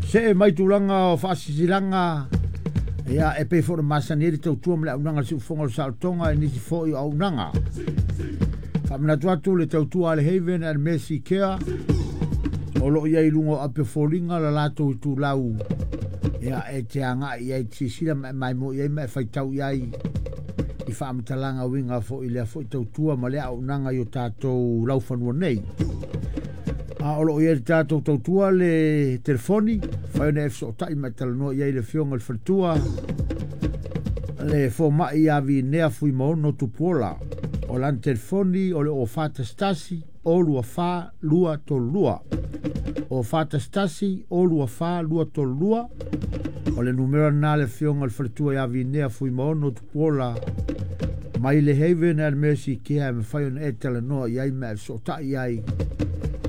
See mai tulaga o faasilasilaga ia e pei foi ona masani ai le tautua ma le auaunaga a le Siufofoga o le Saolotoga i nisi foi o auaunaga. Faamanatu atu le tautua a le Haven and Mercy Care o loo i ai i luga o api o foliga la latou itulau ia e te agai i ai te silasila ma e maimoa i ai ma e faitau i ai i faamatalaga uiga foi i lea foi tautua ma lea auaunaga i o tatou laufanua nei. A o loo i ai le tatou tautua le telefoni, fai ona e fesootai ma e talanoa i ai le afioga i le faletua le fomai ia Vinea Fuimaono Tupuola. O lana telefoni o le 0411 024 232. 0411 024 232. O le numera lena le afioga i le faletua ia Vinea Fuimaono Tupuola mai le Haven and Mercy Care e mafai ona e talanoa i ai ma e fesootai i ai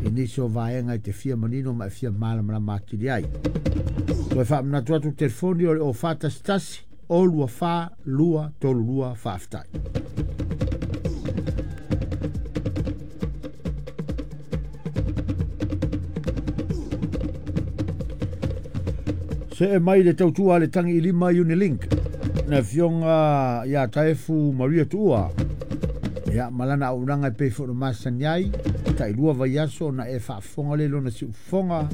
i nisi o vaega e te fia manino ma e fia malamalama atili ai. Toe faamanatu atu telefoni o le 0411 024 232. Faafetai. See mai le tautua a le tangi i lima Unilink na afioga ia Taefu Maria Tuua ia ma lana auaunaga e pei foi ona masani ai tailua vaiaso ona e faafofoga le lona siufofoga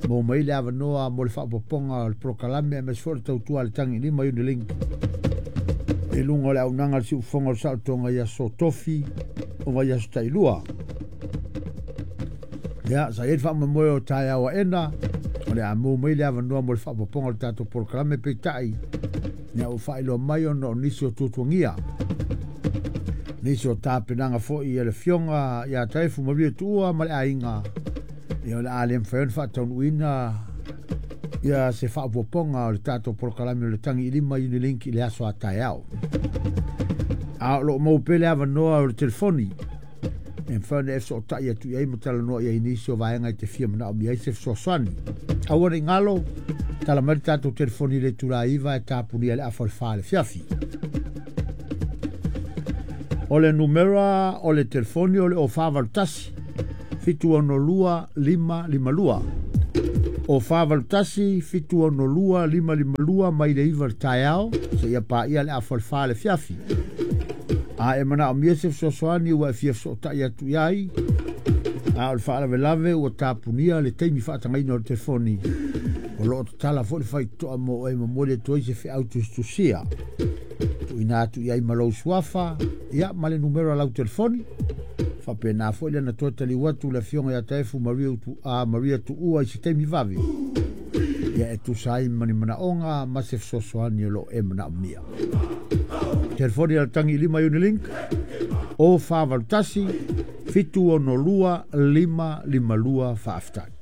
mo mai le avanoa mo le faaopoopoga o le polokalame aemaise foi o le tautua a le tangi i lima Unilink i luga o le auaunaga a le siufofoga o le saolotoga i aso tofi o vaiaso tailua. Ia, sa i ai le faamoemoe o taeao aena, o le a maua mai le avanoa mo le faaopoopoga o le tatou polokalame, peitai, ia ua faailoa mai ona o nisi o tuatuagia, nisi o tapenaga foi a le afioga ia Taefu Maria Tuua ma le aiga, ia o le a le mafai ona faataunuuina ia se faaopoopoga o le tatou polokalame o le Tagi i Lima Unilink i le aso a taeao. A o lo o maua pea le avanoa o le telefoni e mafai ona e fesootai atu i ai ma talanoa i ai i nisi o vaega e te fia manaomia ai se fesoasoani. Aua ne i galo, tala mai le tatou telefoni i le itula 9 e tapunia i le afa o le 4 i le afiafi. O le numera o le telefoni o le 0481 762 552. 0481 762 552 mai le 9 i le taeao seia paia le afa o le 4 i le afiafi. A e manaomia se fesoasoani ua e fia fesootai atu i ai, a o le faalavelave ua tapunia le taimi faatagaina o le telefoni, o lo o tatala foi le faitotoa mo oe e momoli atu ai se feau tusitusia. Tuuina atu i ai ma lou suafa, ia ma le numera o lau telefoni. Faapena foi lena toe taliu atu le afioga ia Taefu Maria, Maria Tuua i se taimi vave, ia e tusa ai ma ni manaoga ma se fesoasoani o lo o e manaomia. Telefoni a le tangi i lima Unilink 0481 762 552. Faafetai.